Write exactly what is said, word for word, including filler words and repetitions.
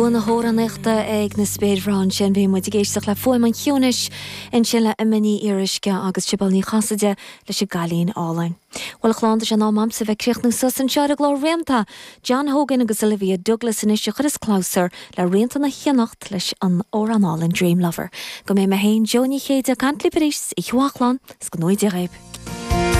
Na hamhránaíochta ag na spéirbhreá sin bhí muid ag éisteacht le Fuaim an Chiúnais ansin le Emma Ní Fhíoruisce agus Sibéal Ní Chasaide leis an gCailín Álainn. Well chlán sé ná mamsa bheith críochnú suas anseo ar an gclár Rianta, John Hogan agus Olivia Douglas anois a chuireas clabhsúr le Rianta na hIonacht leis an amhrán álainn Dream Lover. Go mbeidh mé féin Jó Ní Chéide ag caint libh arís i Chuachlán 's go ngnóthaí Dia dhaoibh.